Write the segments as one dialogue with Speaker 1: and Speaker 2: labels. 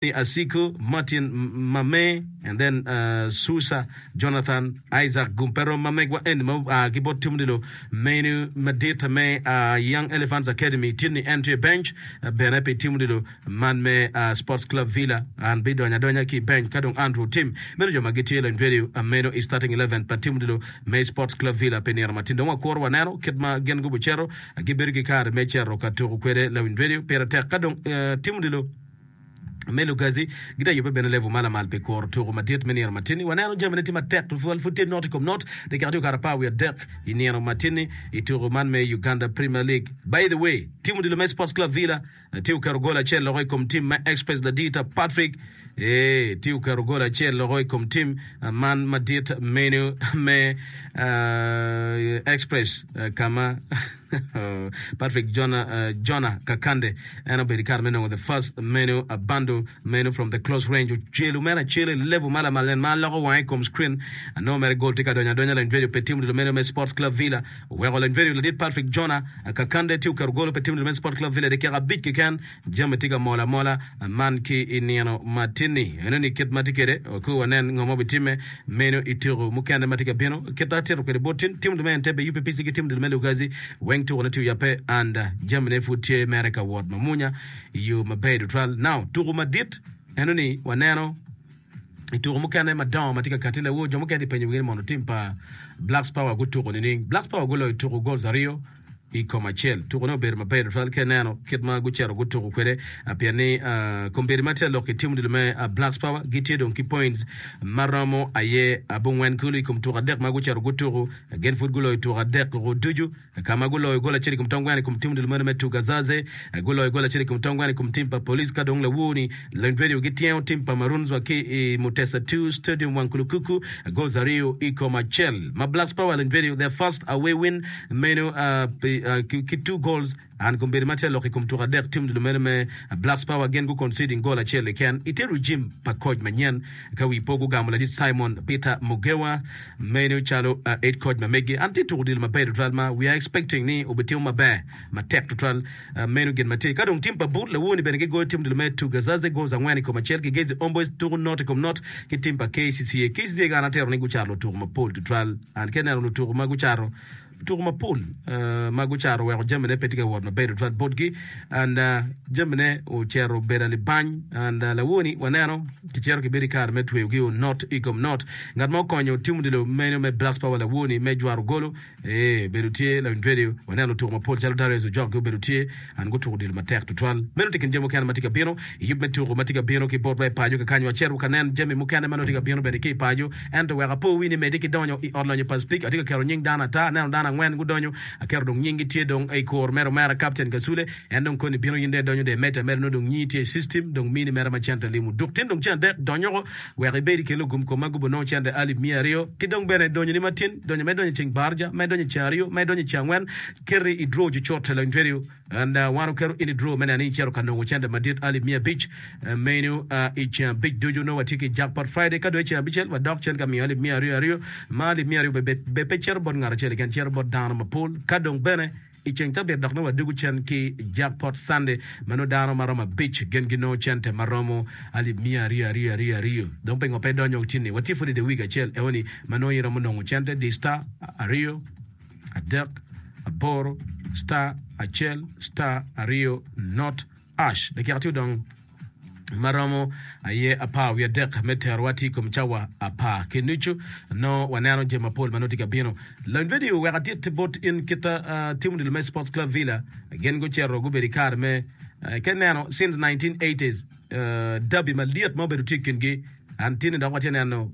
Speaker 1: Ni Asiku, Martin Mame and then Susa, Jonathan, Isaac gum pe rom ma megwa eni ma oa ki bot Timdilo menu madit me Young Elephants Academy tye ni en tye i bench bene pi Timdilo man me Sports Club Villa an bidonyo adonya ki i bench ka dong Andrew Tim meno jo ma gitye lony radio meno i starting 11 pa Timdilo me Sports Club Villa pi nino matin dong wakuro waneno kit ma gin gubucito gibedo ki kare me cito ka tuku kwede lawiny radio pire tek ka dong Timdilo me Lugazi gitye yubbe bene level ma lamal pi kuro tuku madit me nino matinni. Waneno jamine tye matek tutwal pud tye not i kom not dakika tye okato 13 i nino matinni i tuku man me Uganda Premier League. By the way, tim odilo me Sports Club Villa tye oketo gol acel loko i kom tim me Express Ladita Patrick ee tye oketo gol acel loko i kom tim man madit meno me Express kama Patrick Jonah, Jonah Kakande en obedo i kare me nongo the first menu a bundle menu from the close range ocelo mere acel i level ma lamal nen ma aloko wange i kom screen anongo mere gol tye ka donyo adonya lany radio pe tim odilo meno me Sports Club Villa oweko lany radio ladit Patrick Jonah Kakande tye oketo golo pe tim odilo me Sports Club Villa i dakika abic keken Jami tye ka mol amola man ki i nino matin-ni. Enoni kit ma tye kwede, wakur wanen ngo ma obitimme meno i tuku mukene ma tye ka bino. Kit ma atito kwede bot tin, tim me Entebbe, UPPC ki tim me Lugazi weng tukune tye oyabbe and jamine pud tye mere ka wot mamunya i yo maber tutwal. Now, tuku madit enoni waneno i tuku mukene madongo ma tye ka kati lawor, jo mukene tye penyo wigi ni mono tim pa Blacks Power gutuko nining? Blacks Power guloyo tuku goals aryo i kom acel. Tukone obedo maber tutwal ka ineno kit ma gucito gutuko kwede pien ni kombeddi ma tye lok i tim odilo me Blacks Power gitye dong ki points ma romo aye abongwen kulu i kom tuko adek ma gucito gutuko. Gin pud guloyo tuko adek koko ducu ka ma guloyo gol acel i kom tong gweno i kom tim odilo meno me Tugazaze, guloyo gol acel i kom tong gweno i kom tim pa Police ka dong lawor-ni Lony Radio gityengo tim pa Maroons wa ki i Mutesa 2 Stadium Wankulukuku goals aryo i kom acel ma Blacks Power Lony Radio their first away win Meno ki two goals and kombeddi ma tye lok i kom tuko adek tim dul meno me Blacks Power gin gu conceding goal acel keken ite regime pa coach manyen ka wi po gugamo ladit Simon Peter Mugewa meno calo head coach ma megi and tye tuko odilo maber tutwal ma we are expecting ni obitimo maber matek tutwal meno gin ma tye ka dong tim pa Bul lawoni bene gigoyo tim dul me Tugazaze goals angwen i kom acel ki Gezi Homeboys tuko not i kom not ki tim pa KCCA KCCA an atero ni gucato lutuko mapol tutwal and ka ineno lutuko ma gucato Tuko mapol ma gucato oweko jamine pe tye ka wot maber tutwal botgi and jamine ocito obedo alibany and lawoni waneno kicito kibedo i kare me tweyogi o not i kom not. Ngat ma okonyo tim odilo meno me Blacks Power lawoni me jwaro golo ee obedo tye lawiny radio waneno lutuko mapol calo Darius Ojok gi obedo tye and gutuko odilo matek tutwal. Meno tye kin jami mukene ma tye ka bino i yub me tuko ma tye ka bino ki botwa i paco kakany wacito ka nen jami mukene ma nongo tye ka bino bene ki i paco. Ento wek apo wi ni medde ki donyo i ot lonyo pa Speke, atye ka keto nying dano ata, aneno dano angwen gudonyo, aketo dong nyinggi tye dong i kur mere omera Captain Kasule, en dong koni bino in dong idonyo dong imedde ameda nongo dong nyingi tye i system dong mini mere ma cente limo duk tin dong ceng adek donyoko wek ibed i kin lugum kom ma gubo nongo cente alip miya aryo ki dong bene donyoni matin donyo ma idonyo i ceng baraja ma idonyo i ceng aryo ma idonyo i ceng angwen keti i draw cucut lony radio. And wan oketo in i draw me neno ni icito ka nongo cente madit alip 500 meno i ceng abic ducu nongo watye ki jackpot Friday ka dong i ceng abicel wadok cen ka miyo alip 200 aryo ma alip 200 be be pe cito bot ngat acel keken cito bot dano mapol ka dong bene i ceng cabit dok nongo wadwogo cen ki jackpot Sunday ma nongo dano maromo abic gin ginongo cente maromo alip 200 aryo aryo aryo dong pingo pe idonyo tin-ni watye pud i the week acel eoni ma nongo in iromo nongo cente di star aryo adek, aboro, star, acel, star, aryo, not, ash. Dakika tye odong ma romo aye apar wiye adek me terowa tye i kom cawa apar ki nucu. Nongo waneno jami mapol ma nongo tye ka bino. Lony vedio wek atit bot in kita uh, tim odilo me Sports Club Villa gin gucito gubedo i kare me uh, ka ineno since 1980s uh, derby malyet ma obedo tye i kingi An tini dok watye neno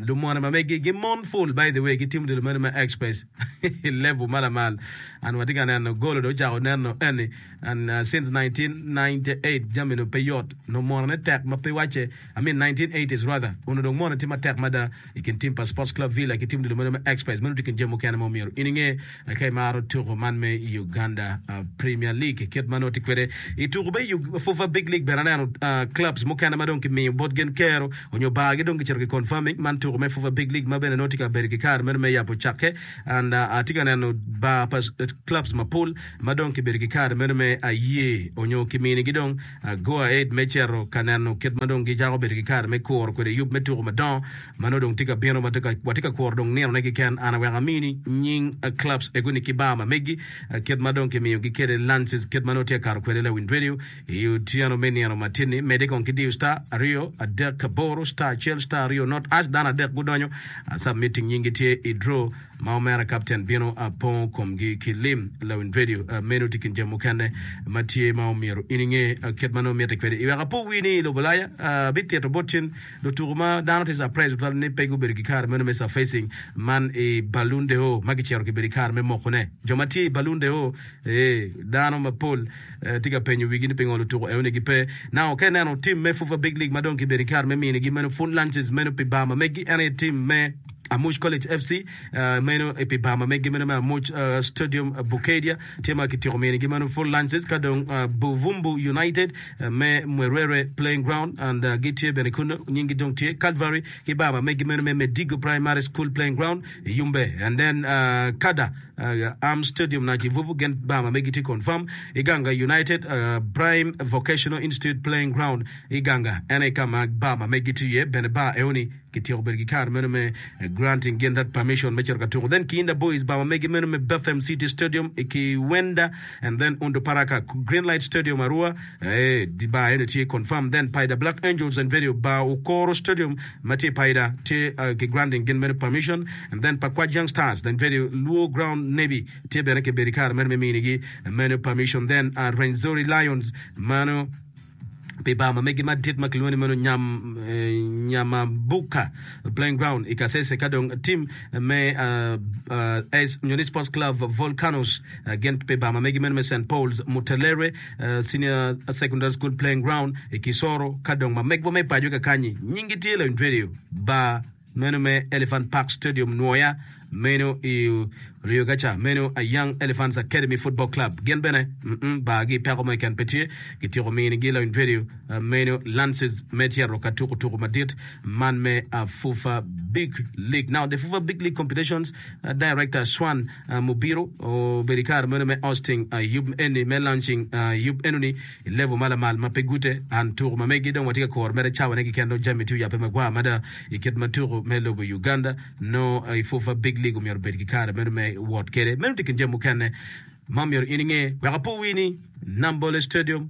Speaker 1: lumone ma megi gimon full by the way gitimo dilo meno me express i level ma lamal and watye ka neno golo dong ocako neno eni and uh, since 1998 jami no pe yot no mone ne tek ma pe wacce I mean 1980s rather ono dong mone tye matek mada i kin tim pa Sports Club Villa ki tim dilo meno me express meno tye kin jami mukene ma omyero in inge Ka imaro tuko man me Uganda Premier League kit ma nongo tye kwede i tuko me Fufa Big League bene aneno clubs mukene ma dong kimiyo bot gin kero. onyo bar gi dong gicito ki confirming man tuku me FUFA Big League ma bene nongo tye ka bedo ki kare meno me yabo cakke and atye ka neno bar pa clubs mapol ma dong kibedo ki kare meno me aye onyo kiminigi dong go ahead me cito ka neno kit ma dong gicako bedo ki kare me kuro kwede yub me tuku madongo ma nongo dong tye ka bino watye ka kuro dong ninone keken. An aweko amini nying clubs egoni ki bar ma megi kit ma dong kimiyogi kwede lances kit ma nongo tye ka kato kwede lawiny radio i otyeno me nino matin-ni. Medde kong ki diyo star aryo adek aboro star acel star aryo not hash dano adek gudonyo submitting nyinggi tye i draw ma omera kapten bino pongo komgi ki lim. Lawiny radio meno tye kin jami mukene ma tye ma omyero in inge kit ma nongo mitte kwede. I wek apo wi ni i lobo Ulaya abitito bot cen Lutuku ma dano tye surprise tutwal ni pe gubedo ki kare meno me surfacing man i Balloon d'Or ma kicito kibedo ki kare me mokone. Jo ma tye i Balloon d'Or ee dano mapol tye ka penyo wigi ni pingo lutuku enoni gipe. Now ka ineno team me FUFA Big League ma dong kibedo ki kare me minigi meno full lunches meno pi bar ma megi en aye team me Amuc College FC meno pi bar ma megi meno me Amuc Stadium Bukedea tye ma kityeko minigi meno full lunches ka dong Buvumbu United me Mwerere Playing Ground and gitye bene kunnu nyinggi dong tye Calvary ki bar ma megi meno me Medigo Primary School Playing Ground i Yumbe and then Kada Arms Stadium Nakivubo gin bar ma megi tye confirm i Ganga United Prime Vocational Institute Playing Ground i Ganga en aye ka ma bar ma megi tye iye bene bar eoni Kityeko bedo ki kare meno me granting gin that permission me cito ka tuko. Then Kiyinda Boys bar ma megi meno me Bethlehem City Stadium i Kiwenda and then Onduparaka Greenlight Stadium Arua eh, di bar eno tye confirm. Then Paida Black Angels and Video bar Okoro Stadium ma tye i Paida tye uh, ki granting gin meno permission and then Pakwach Young Stars then Video Luo Ground Navy tye bene kibedo ki kare meno me minigi meno permission. Then uh, Rwenzori Lions mano pi bar ma megi madit ma kilwongo ni meno Nyam, Nyamabuka Playing Ground i Kasese ka dong tim me S nyo ni Sports Club Volcanoes gin pi bar ma megi meno me St Paul's Mutelere Senior Secondary School Playing Ground i Kisoro ka dong ma megwa me paco kakanyi nyingi tye Lawiny Radio bar Meno me Elephant Park Stadium Nwoya, meno i Rio Gaca, meno a Young Elephants Academy Football Club. Gin bene mm bar-gi peko mo keken pe tye. Gityeko minigi lawiny radio meno Lances me cito ka tuko tuko madit man me FUFA Big League. Now the FUFA Big League Competitions Director Swan Mubiru obedo i kare meno me hosting yub eni me launching yub enoni I level ma lamal ma pe gute, and tuku ma megi dong watye ka kuro mere cawa ne keken dong jami tye oyabe magwar mada i kit ma tuku me lobo Uganda nongo i FUFA Big League omyero obed ki kare meno me wot kede. Meno tye kin jami mukene ma myero in inge wek apo wii ni Nambole Stadium,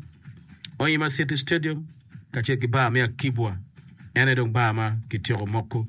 Speaker 1: Hoima City Stadium kacel ki bar me Akibwa en aye dong bar ma kityeko moko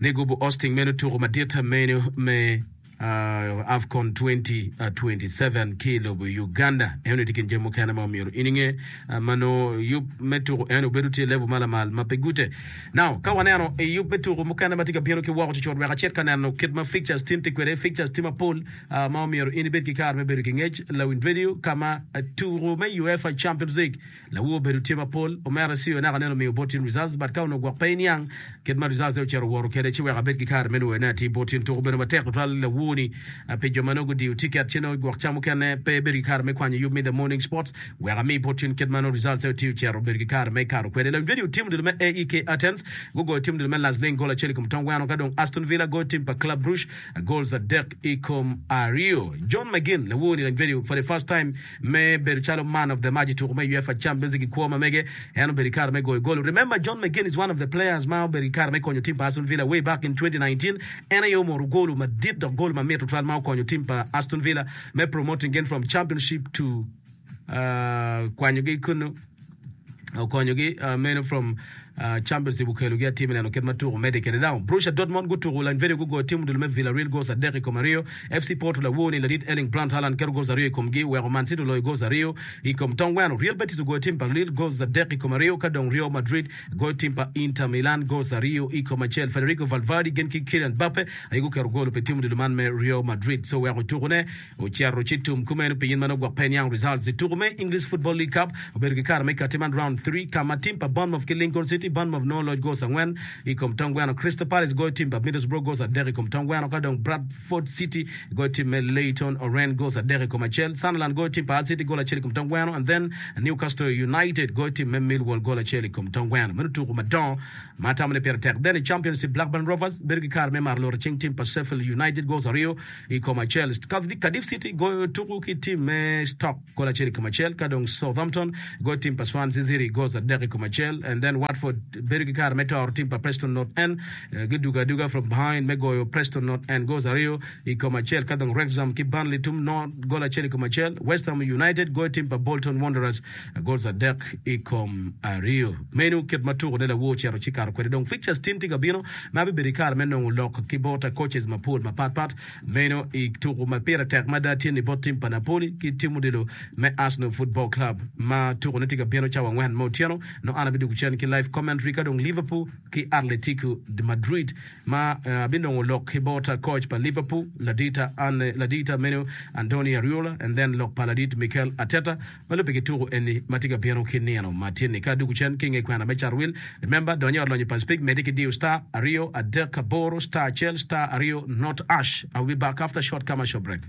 Speaker 1: ni gubu hosting meno tuku madit meno me AFCON 2027 ki i lobo Uganda. Eno tye kin jami mukene ma omyero in inge ma nongo yub me tuko eno obedo tye i level ma lamal ma pe gute. Now, ka waneno i yub me tuko mukene ma tye ka bino ki woko cucut wek acit ka neno kit ma fixtures tin tye kwede. Fixtures tye mapol ma omyero in ibed ki kare me bedo ki ngec. Lawiny radio ka ma tuko me UEFA Champions League Lawor obedo tye mapol, omera Sio naka nene omiyo bot in results but ka onongo gwok pe iniang kit ma results ne ocito owoto kede ci wek abed ki kare me nwoyo ne atir bot in. Tuko obedo matek tutwal lawor ni pi jo ma nongo gudiyo ticket ci nongo gwok ca mukene pe ibedo ki kare me kwanyo yub me The Morning Sports wek ami bot in kit ma nongo results ne otiyo ocito obedo ki kare me kato kwede. Lawiny radio tim odilo me AEK Athens gugoyo tim odilo me Lasling gol acel i kom tong gweno ka dong Aston Villa goyo tim pa Club Brugge goals adek i kom aryo. John McGinn lawor ni lawiny radio for the first time Me bedo calo man of the match i tuko me UEFA Champions League i kwo ma mege, en obedo ki kare me goyo gol. Remember, John McGinn is one of the players ma obedo ki kare me konyo tim pa Aston Villa way back in 2019. En aye omoro golu madit dok gol mamit tutwal ma okonyo tim pa Aston Villa me promoting gin from Championship to kwanyogi kunu. Okonyogi meno from Championship okelogi atir me neno kit ma tuko medde kwede. Now, Borussia Dortmund gutuko Lanyvedio gugoyo tim odilo me Villarreal goals 3-2. FC Porto lawor-ni ladit Erling Brandt Haaland keto goals aryo i komgi weko Man City oloyo goals aryo i kom tong gweno. Real Betis ogoyo tim pa Lille goals 3-2 ka dong Real Madrid goyo tim pa Inter Milan goals 2-1. Federico Valverde gin ki Kylian Mbappe aye guketo gol pi tim odilo man me Real Madrid. So weko tukone Ocito ci tum kumeno pi in ma nongo gwok pe iniang results i tuku me English Football League Cup obedo ki kare me kati man round three ka ma tim pa Bournemouth ki Lincoln City. City. Bournemouth nongo loc goals angwen i kom tong gweno. Crystal Palace goyo tim pa Middlesbrough goals adek i kom tong gweno ka dong Bradford City goyo tim me Leyton Orient goals adek i kom acel. Sunderland goyo tim pa Hull City goal acel i kom tong gweno and then Newcastle United goyo tim me Millwall goal acel i kom tong gweno. Meno tuku madongo ma atamo ni pire tek. Then i Championship Blackburn Rovers bedo ki kare me maro loro cing tim pa Sheffield United goals aryo i kom acel. Cardiff City goyo tuku ki tim me Stoke gol acel i kom acel ka dong Southampton goyo tim pa Swansea City goals adek i kom acel and then Watford bedo ki kare me toro tim pa Preston North End gidugo aduga from behind me goyo Preston North End goals aryo i kom acel ka dong Wrexham ki Burnley tum no gol acel i kom acel West Ham United goyo tim pa Bolton Wanderers goals adek i kom aryo. Meno kit ma tuko ne lawor ocito ci kato kwede. Dong fixtures tin tye ka bino ma abibedo i kare me nongo lok ki bot coaches mapol mapat pat. Meno i tuko ma pire tek mada tye ni bot tim pa Napoli ki tim odilo me Arsenal Football Club ma tuko ne tye ka bino cawa angwen me otyeno. Nongo an abidwogo cen ki live commentary ka dong Liverpool ki Atletico de Madrid ma abinongo lok ki bot coach pa Liverpool ladita ladita meno Andoni Ariola and then lok pa ladit Mikel Arteta Ma lubbe ki tuku eni ma tye ka bino ki nino ma tye-ni, ka adwogo cen ki i nge kwena me carowil, remember, dony i ot lonyo pa Speke, medde ki diyo star aryo adek aboro star acel star aryo not ash. I will be back after short commercial break.